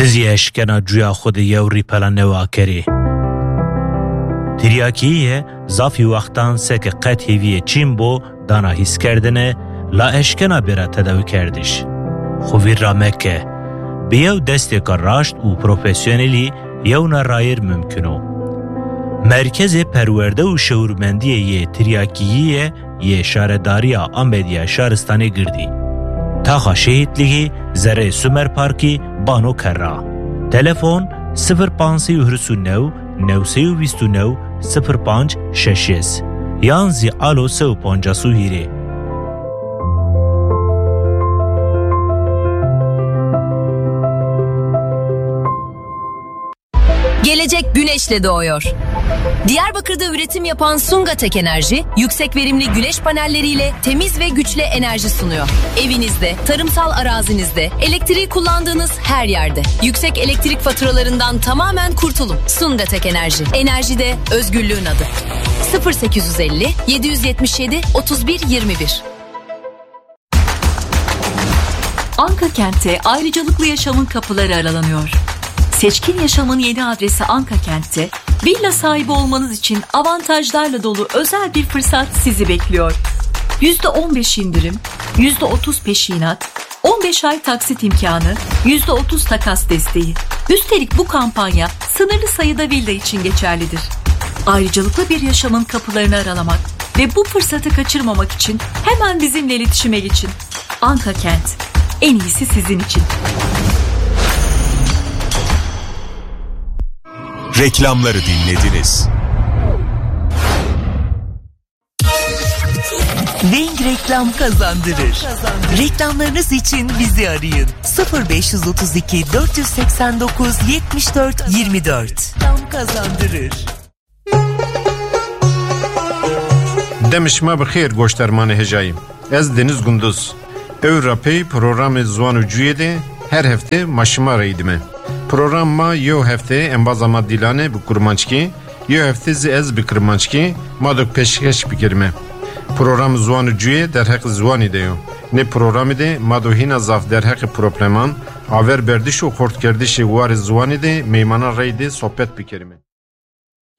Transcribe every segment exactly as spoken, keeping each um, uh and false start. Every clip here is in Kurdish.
Ti zî eşkena cuya xwe di yew rîpela newe akerê. Tiryakî ye, zafî wextan seke qet hêviyê çîn bo, dana hîskerdine, la eşkena bêra tedawikerdiş. Xwe vîr ra meke. Bi yew destêka raşt û profesyonelî yewna rayîr mimkun o. Merkezê Perwerde û Şewirmendiyê yê Tiryakiyî ye yê Şaredariya Amedî ya Şaristanê Girdî. Taxa Şehîtlîgî, zereyê Sumer Parkî, Bano Kerra. Telefon: sifir pênc sey û hîris û new, new sey û vîst û new, sifir pênc şeş sey yan zî alo sey û pancas û hîrê. Gelecek güneşle doğuyor. Diyarbakır'da üretim yapan Sungatek Enerji, yüksek verimli güneş panelleriyle temiz ve güçlü enerji sunuyor. Evinizde, tarımsal arazinizde, elektriği kullandığınız her yerde yüksek elektrik faturalarından tamamen kurtulun. Sungatek Enerji, enerjide özgürlüğün adı. sıfır sekiz yüz elli, yedi yüz yetmiş yedi, otuz bir yirmi bir. Anka Kent'te ayrıcalıklı yaşamın kapıları aralanıyor. Seçkin yaşamın yeni adresi Anka Kent'te, villa sahibi olmanız için avantajlarla dolu özel bir fırsat sizi bekliyor. Yüzde on beş indirim, yüzde otuz peşinat, on beş ay taksit imkanı, yüzde otuz takas desteği. Üstelik bu kampanya sınırlı sayıda villa için geçerlidir. Ayrıcalıklı bir yaşamın kapılarını aralamak ve bu fırsatı kaçırmamak için hemen bizimle iletişime geçin. Anka Kent. En iyisi sizin için. Reklamları dinlediniz. Weng Reklam kazandırır. Reklamlarınız için bizi arayın. sıfır beş yüz otuz iki, dört yüz seksen dokuz, yetmiş dört, yirmi dört. Reklam kazandırır. Dem şima bi xêr, goşdarmanê hêjayî. Ez Deniz Gunduz. Ew rapey programê Ziwan û Cuyê de her hefte ma şima re dîme. Program ma yew hefte embaza ma Dîlane bi kurmanckî, yew hefte zî ez bi kirmanckî ma do pêşkeş bikerime. Program Ziwan û Cuyê derheq ziwanî de yo. Nê programî de ma do hîna zaf derheqê probleman, aver berdiş û xortkerdişê warê ziwanî de meymanan rey de sohbet bikerime.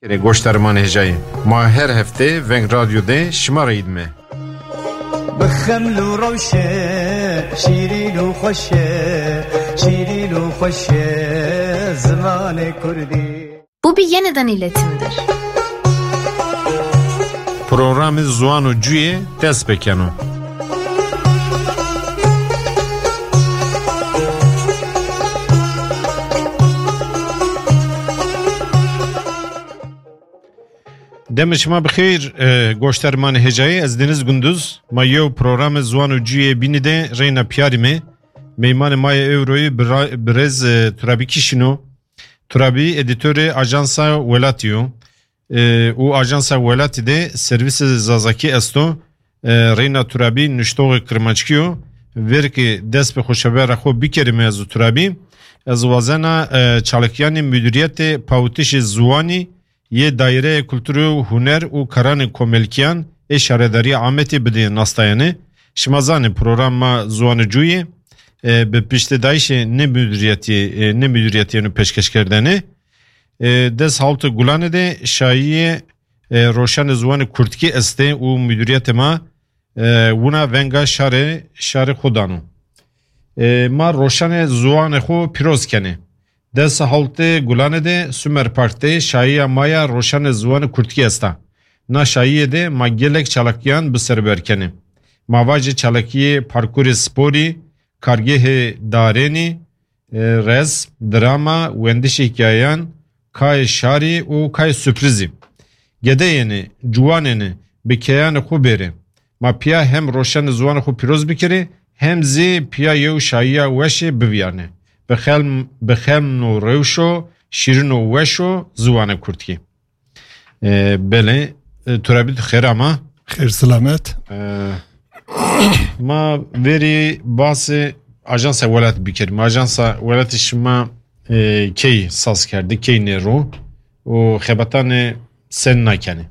Kere goşdarman hêjayî. Ma her hefte Veng Radyo de şima re dîme. Bi xeml û rewşe, şîrîn û xweş e, şîrîn û xweş e, zimanê kurdî. Bu bir yeniden iletimdir. Programê Ziwan û Cuyê dest pê keno. Demê şima bi xêr, e, goşdarmanê hêjayî, ez Deniz Gunduz. Ma yew programê Ziwan û Cuyê bînî de reyna piyarî me. Meymanê ma yê ewroyî bira-, birêz, e, Turabî Kişîn o. Turabî edîtorê Ajansa Welatî yo. E, û Ajansa Welatî de servîsê Zazakî esto. E, reyna Turabî nuştoxê kirmanckî yo. Verkê dest bi xweşebera xwe bikerîme ez û Turabî. Ez wazena, e, çalakîyanê Mudûriyetê Pawitişê Ziwanî yê Daîreya Kulturê û Huner û Karanê Komelkîyan ê Şaredariya Amedê bidê nastayanê. Şima zanê programa Ziwan û Cuyê, e, bi piştedayîşê nê mudûriyetî, e, nê mudûriyetî yeno pêşkeşkerdene. E, des hawtê Gulanê de şayîyê, e, roşanê ziwanê kurdkî estê û mudûriyetê ma, e, wina venga şarê, şarê xwe dano. E, ma roşanê ziwanê xwe pîroz kenê. Des hawtê Gulanê de Sumer Park de şayîya ma ya roşanê ziwanê kurdkî esta. Na şayîyê de ma gelek çalakîyan bi ser ber kenê. Ma vajê çalakîyê parkûrê sporî, kargehê darênî, e, rez, drama, wendişê hikayeyan, kayê şarî û kayê surprizî. Gedeyêne, ciwanêne, bi keyanê xwe bêrê. Ma piya hem roşanê ziwanê xwe pîroz bikirê, hem zî piya yew şayîya weşê bivîyarnê. Bi xelm-, bi xelm û rewşo, şîrin û weşo ziwanê kurdkî. E, belê, e, Turabî tu xêr ama. Xêr selamet. E, ma verî basê Ajansa Welat bikerîme. Ajansa Welatê şima, e, key saz kerdî, key nêro û xebatanê sen nakenê?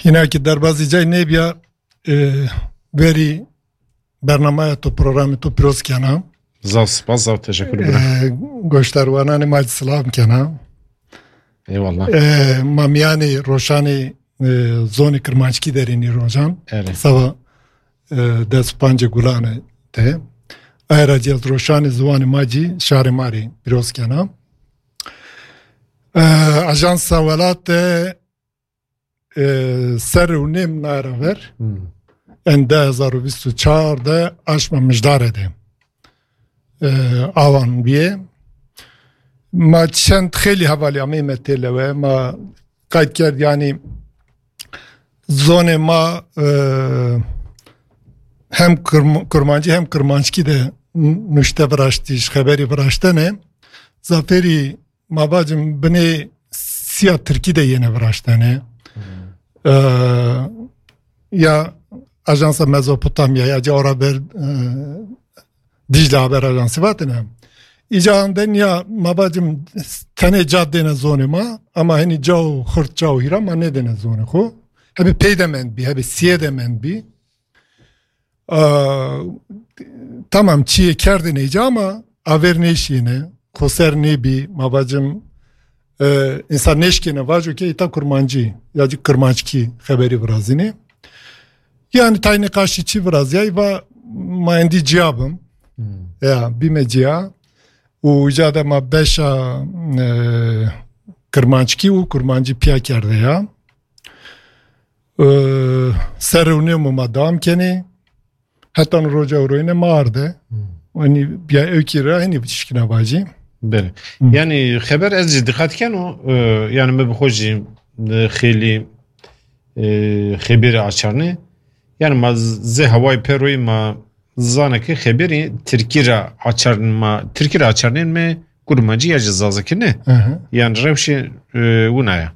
Hîna ki derbazî cay nêbiya, e, verî bernamaya to, programê to pîroz kena. Zaf spas, zaf teşekkür ederim. Goşdarwananê ma silav kena. Eyvallah. Ma miyanê roşanê zonê kirmanckî derênî rojan. Sava des û pancê gulane de. Ayra cî ez roşanê ziwanê ma cî şarê ma rê pîroz kena. Ajansa Welat de serê û nêm nayra ver. En du hezar û bîst û çar de aşma Mijdare de awan bîye. Ma çend xêlî hevalî amê me têlewe. Ma qayt kerd, yanî zonê ma hem kurm-, kurmancî hem kurmanckî de nuşte viraştî, ji xeberî viraştene. Zafêrî ma bacim binê siya tirkî de yêne viraştene. Ya Ajansa Mezopotamya ya ca ora ber Dîcle Haber Ajansı vatine. Îca de niya ma bacim tenê ca dêne zonê ma, ama henî ca û xurt ca û hîra ma nedêne zonê xo. Hebê pey de mend bî, hebê siyê de mend bî. Tamam, çiyê kerdin êca ama aver nêşîne, xoser nêbî, ma bacim, e, însan nêşkêne vajo ke îta kurmancî ya cî kirmanckî xeberî virazînê. Yani tay nîqaşî çi viraziyay va ma endî ciya bim. Ya, bîme ciya. Û îca de ma beşa, e, kirmanckî û kurmancî piya kerde ya. E, serê û nêm û ma dewam kenê. Heta roja ewroyine ma arde. Hani ya ewkî ra henî şikina vajî. Belê. Yani xeber ez jî diqet keno, e, yani me bi xwe jî, e, xêlî, e, xebêrê açarnê. Yani ma z-, zê hewayê peroyî ma zane ki xebêrî tirkî ra açarn ma, tirkî ra açarnên me kurmancî ya jî zazakî ne. Hı hı. Yani rewşê, e, wina ya.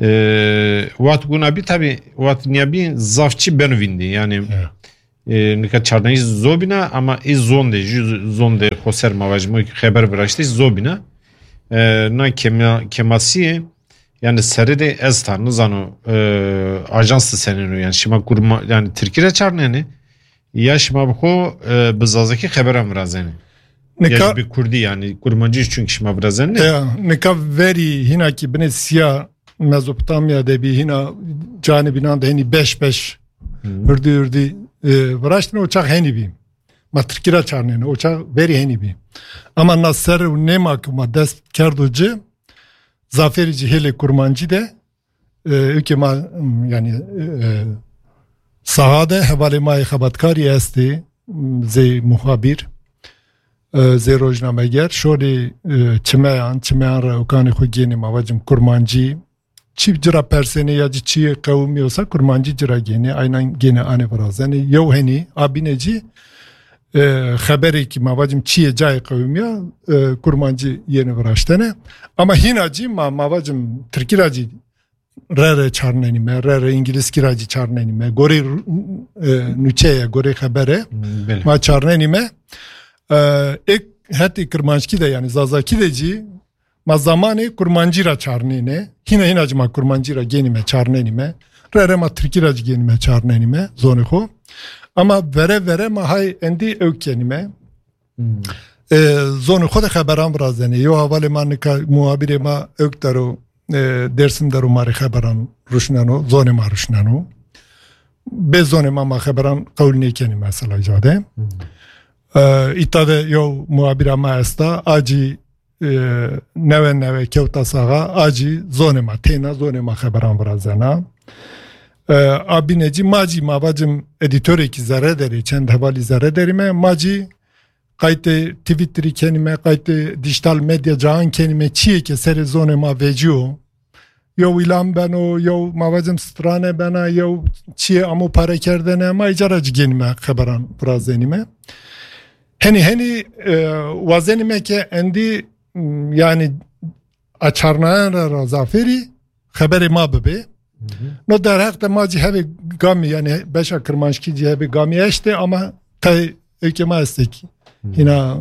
E, wat wina bî, tabî, wat niya bî zaf çi beno vîndî. Yani, e, nika çarnayî zobîna, ama ê zondê, jû zondê xo ser ma vajî, mo xeber viraştî zobîna. E, na kema-, kemasiyê, yani serê de ez ta, nizano, e, ajans de senêno, yani şima kurma, yani tirkî re çarnenê, ya şima bi xo, e, bi zazakî xeberan virazenê. Ya jî bi kurdî, yani kurmancî çünkü şima virazenê. Ya, nika verî hîna ki binê siya Mezopotamya de bî, hîna canê bînan de hînî beş beş, hı, hurdî hurdî, e, viraştine, o çax henî bî. Ma tirkî ra çarnêne, o çax verî henî bî. Ama na ser û nêma ki ma dest kerdo ci, zafêrî ci hêlê kurmancî de, e, ûkê ma, m, yani, e, saha de hevalê ma yê xebatkarî estê, m, zê muhabîr, e, zê rojnameger, şorê, e, çimeyan, çimeyan re ûkanê xwe gênê ma vacim kurmancî, çî cira persênê ya cî çî qewimî olsa kurmancî cira gênê, aynan gênê anê virazenê. Yew henî, a bîne cî, e, xeberê ki ma vacim çiyê cayê qewimî ya, e, kurmancî yêne viraştene. Ama hîna cî ma, ma vacim tirkî ra cî re re çarnenîme, re re îngilizkî ra cî çarnenîme. Gorê ru-, e, nûçe ye, gorê xebere. Belê. Ma çarnenîme. E, êk hetê kirmanckî de, yani zazakî de cî ma zamanê kurmancî ra çarnêne. Hîna hîna cî ma kurmancî ra gênîme, çarnenîme. Re re ma tirkî ra cî gênîme, çarnenîme zonê xo. Ama vere vere ma hay endî ewk kenîme. Hmm. E, zonê xo de xeberan virazenê. Yo hevalê ma nika muhabirê ma ewk dero, e, Dersim dero ma rê xeberan ruşneno, zonê ma ruşneno. Bê zonê ma ma xeberan qewil nêkenî mesela îca de. Hmm. E, îta de yo muhabira ma esta, a cî, e, newe newe kewta saxa, a cî zonê ma têna, zonê ma xeberan virazena. E, a bîne cî ma cî ma vacim edîtorekî zerre derê, çend hevalî zerre derî me, ma cî qaytê Twitterî kenîme, qaytê dijital medya cahan kenîme, çiyê ke serê zonê ma vecîyo. Yew îlan beno, yew ma vacim strane bena, yew çiyê amo pare kerdene, ma îca ra cî gênîme xeberan virazenîme. Henî henî, e, wazenîme ke endî, m, yani açarnayan re ra zafêrî xeberê ma bibê. Hı hı. No derheq de ma cî hebê gamî, yani beşa kirmanckî cî hebê gamî eştê ama tay êkê ma estê ki. Hı. Hîna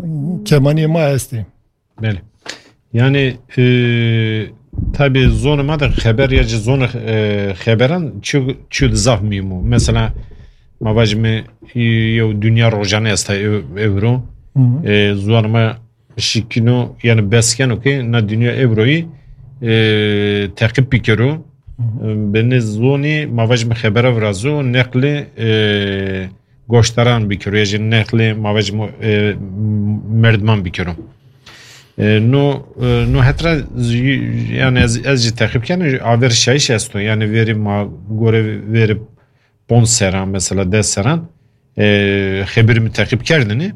kemaniyê ma estê. Belê. Yani, e, tabi zonê ma de xeber ya cî zonê, e, xeberan çi, çi zaf muhîm o. Mesela, ma vajime, e, yew Dünya Rojane esta ev-, evro. E, ziwan me şikino, yani bes keno ke na dinya evroyî, e, teqîb bikero. E, bi nê zonî ma vajim xebera virazo, neqlê, e, goşdaran bikero, ya jî neqlê ma vajim, e, merdiman bikero. E, no, e, no hetra z-, yani ez, ez jî teqîb kene, aver şayîş esto. Yani verî ma gore verî ponc seran, mesela des seran, e, xeberî min teqîb kerdinî.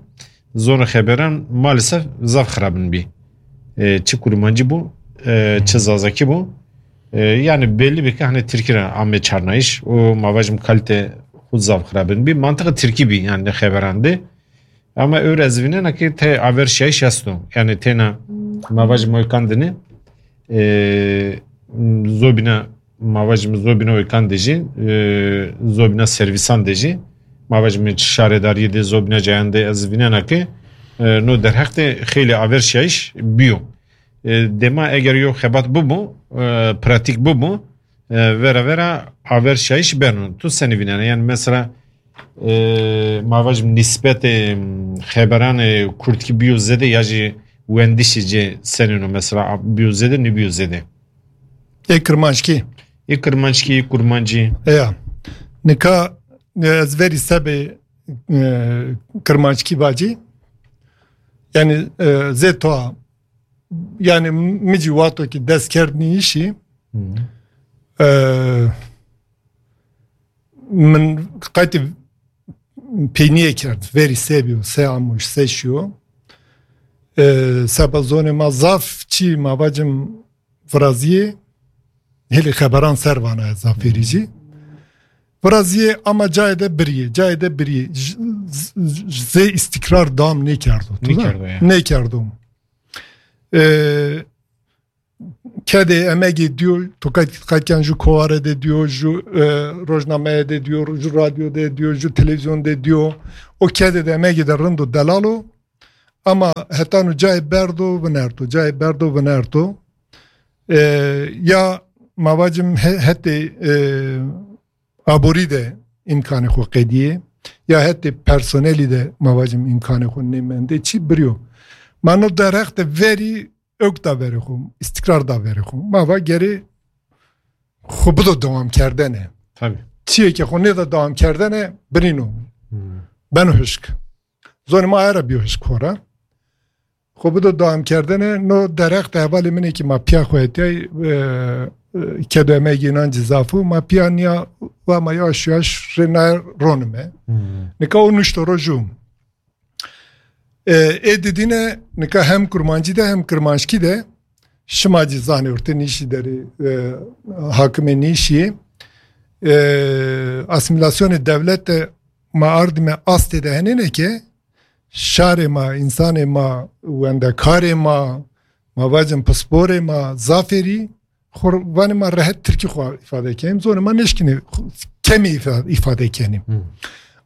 Zona xeberan maalesef zaf xirabin bî. E, çi kurmancî bû, e, çi zazakî bû. E, yani belli bir hani Tirkî re ame çarnayış. O ma vajim kalite xu zaf xirabin bî. Mantığı Tirkî bî yani xeberan de. Ama öyle ez vînena ki te aver şayîş esto. Yani tena ma vajim oykandini, e, zobina ma vajim zobîna oykandê jî, e, zobîna servîsan de jî, ma vajim şaredariyê de, zobîna cayan de ez vînena ke, e, no derheq de xeylê averşiyayîş biyo. E, dema eger yo xebat bibû, e, pratîk bibû, e, vera vera averşiyayîş beno. Tu senî vînena? Yani mesela, e, ma vajim nîsbetê, em, xeberanê kurdkî biyo zêde ya jî wendişî cê senîno mesela biyo zêde, nîbiyo zêde? Ê kirmanckî. Ê kirmanckî, ê kurmancî. Eya. Nika, e, ez verî sebê, e, kirmanckî bacî. Yani, e, zê toa. Yani, mi cî wato ki dest kerdnî işî. Hı. E, min qaytî peyniyê kerd. Verî se biyo, se amuş, se şiyo. E, seba zonê ma zaf çi ma vacim viraziyê, hêlê xeberan ser vana ez zafêrî jî. Viraziyê ama cayê de biriyê, cayê de biriyê. J-, z-, z-, zê îstîkrar dam nêkerdo. Tu Nêkerdo, ya. Nêkerdo. E, kedê emegê diyo, tu qet, qetken ju kovare de diyo, ju, e, rojnameye de diyo, ju radyo de diyo, ju televizyon de diyo. O kedê de emegê de rind û delal o. Ama hetan û cayê berdo vinerto, cayê berdo vinerto. E, ya ma vacim he-, hetê, e, aborî de îmkanê xwe qediyê, ya hetê personelî de ma vacim îmkanê xwe nêmendê, çi biriyo. Ma no derheq de verî ewk da verê xwe, îstîkrar da verê xwe. Ma va gerê xwe bido dewam kerdene. Tabii. Çiyê ke xwe nêda dewam kerdene, birîno. Hmm. Beno hişk. Zonê ma era biyo hişk xora. Xwe bido dewam kerdene, no derheq de hevalê min ê ki ma piya xwe etiyay, e, e, kedo emegê nan cî zaf û, ma piya niya va ma yaş yaş rê nayê ronime. Hmm. Nika o nuşto ro jû. E, ê didîne nika hem kurmancî de hem kirmanckî de şima cî zanê ortê nîşî derê, e, hakimê nîşî, e, asîmîlasyonê dewlet de ma ardime astê de henêne ke şarê ma, însanê ma, wendekarê ma, ma vacin pisporê ma, zafêrî, xwe vanê ma rehet tirkî xwe îfade kenîm. Zonê ma nêşkinê xwe kemî îfa-, îfade kenîm. Hmm.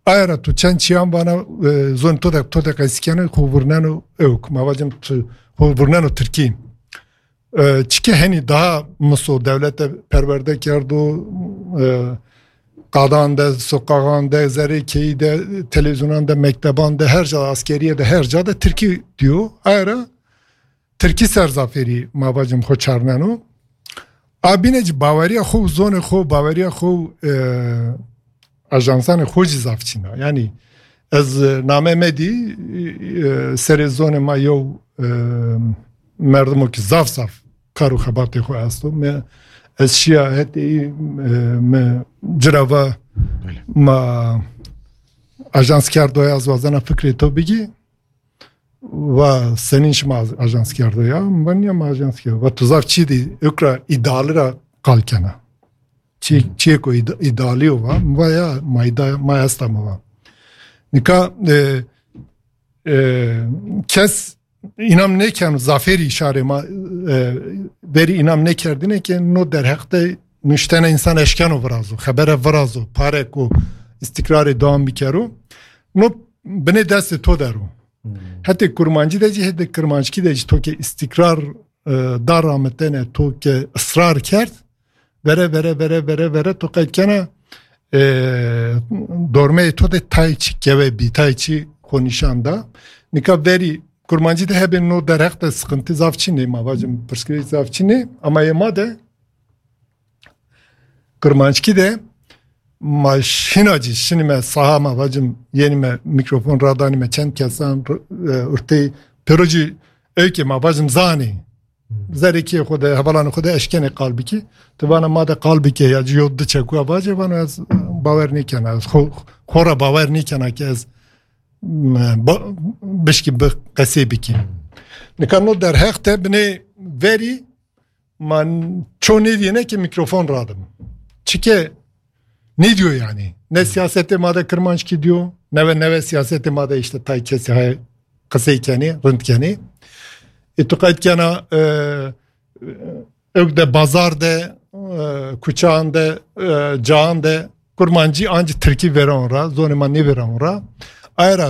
Aya ra tu çend çiyan vana, e, zon to de, to de qesî kene, xwe vurneno ewk. Ma vacim tu, xwe vurneno tirkî. E, çike henî daha miso dewlete perwerde kerdo, e, qadan de, soqaxan de, zerê keyî de, televîzyonan de, mekteban de, her ca, askeriye de, her ca de tirkî diyo. Aya ra tirkî ser zafêrî ma vacim xwe çarneno. A bîne jî baweriya xwe û zonê xwe û baweriya xwe û, e, ajansanê xwe jî zaf çîn a. Yanî ez, e, name me dî, e, serê zonê ma yew, e, merdimo ki zaf zaf kar û xebatê xwe esto. Me, ez şiya hetê, e, me cira va Belê. ma ajans kerdo ya, ez wazena fikrê to bigî. Va senîn şima aj-, ajans kerdo ya? Va niya ma ajans kerdo. Va tu zaf çi dî, ewk ra îdali ra qal kena. Çi, Hmm. çiyê ku îd-, îdalî yo va. Mi va ya, ma îda-, ma esta mi va. Nika, e, e, kes înam nêken zafêrî şarê ma, e, verî înam nêkerdine ke no derheq de nuştene însan eşkeno virazo, xebere virazo, pare ku îstîkrarê dewam bikero. No binê destê to der o. Hmm. Hetê kurmancî de jî, hetê kirmanckî de jî to ke îstîkrar, e, da ramitene, to ke israr kerd, vere, vere, vere, vere, vere, to qeyd kena, e, dormeyê to de tayê çi kewe bî, tayê çi xwe nîşan da. Nika verî kurmancî de hebe no derheq de sıkıntı zaf çinê, ma vacim pirsgirêk zaf çinê, ama yê ma de kurmanckî de ma şina cî şinî me saha ma vacim yenî me mikrofon radanî me çend kesan r-, e, urtê pêro cî ewkê ma vacim zanî. Zerê kê xwe de, hevalanê xwe de eşkenê qal bikî. Tu vana ma de qal bike ya cî yo di çekuya vace vano ez bawer nêkena. Ez xo, xo ra bawer nêkena ki ez, m, ba, bişkî bi qesê bikî. Nika no derheq te binê verî ma ço nêdiyene ki mikrofon radim. Çike nêdiyo yani. Ne siyasetê ma de kirmanckî diyo, ne ve, ne ve siyasetê ma de işte tay kesî hay qisey kenê, rind kenê. E, tu qeyd kena, e, ewk de bazar de, e, kuçan de, e, caan de, kurmancî ancî tirkî vera on ra, zonê ma nêvera on ra. Ayra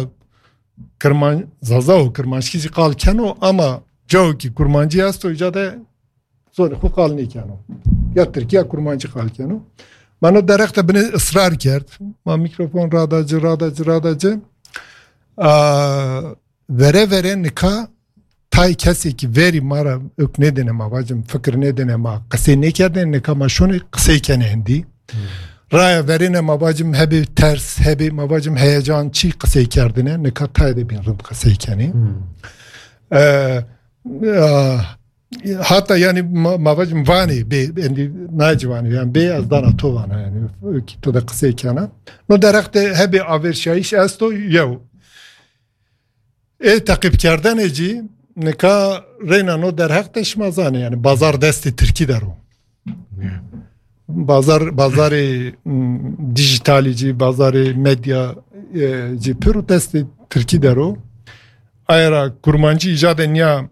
kirman-, zaza û kirmanckî jî qal keno, ama cawekî kurmancî esto, îca de zonê xwe qal nêkeno. Ya tirkî ya kurmancî qal keno. Ma no derheq de binê israr kerd. Ma mikrofon rada ci, rada ci, rada ci. A, vere vere nika tay kesekî verî ma ra ewk nêdine ma vacim, fikir nêdine ma qisê nêkerdine, nika ma şonê qisey kenê hindî. Raya verêne ma vacim hebê ters, hebê ma vacim heyecan çî qisey kerdine, nika tayê de bîn rind qisey kenê. E, a, Hata yani ma, ma vacim vanê bê, endî nayê ci vanê, yani bê ez dana to vana yani ki to de qisey kena. No derheq de hebê averşayîş esto yew. Ê teqîbkerdene cî nika reyna no derheq de şima zanê yani bazar destê tirkî de ro. Bazar, bazarê, m, dijitalî cî, bazarê medya, e, cî pir û destê tirkî de ro. Ayra kurmancî îca de niya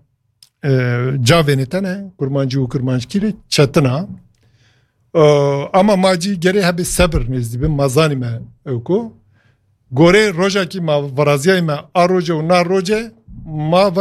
e, cavênê te ne, kurmancî û kurmanckî rê çetin a. E, ama ma cî gerê hebê sebir nêzdî bin, ma zanîme ewko. Gorê roja kî ma viraziyayîme a roje û na roje, ma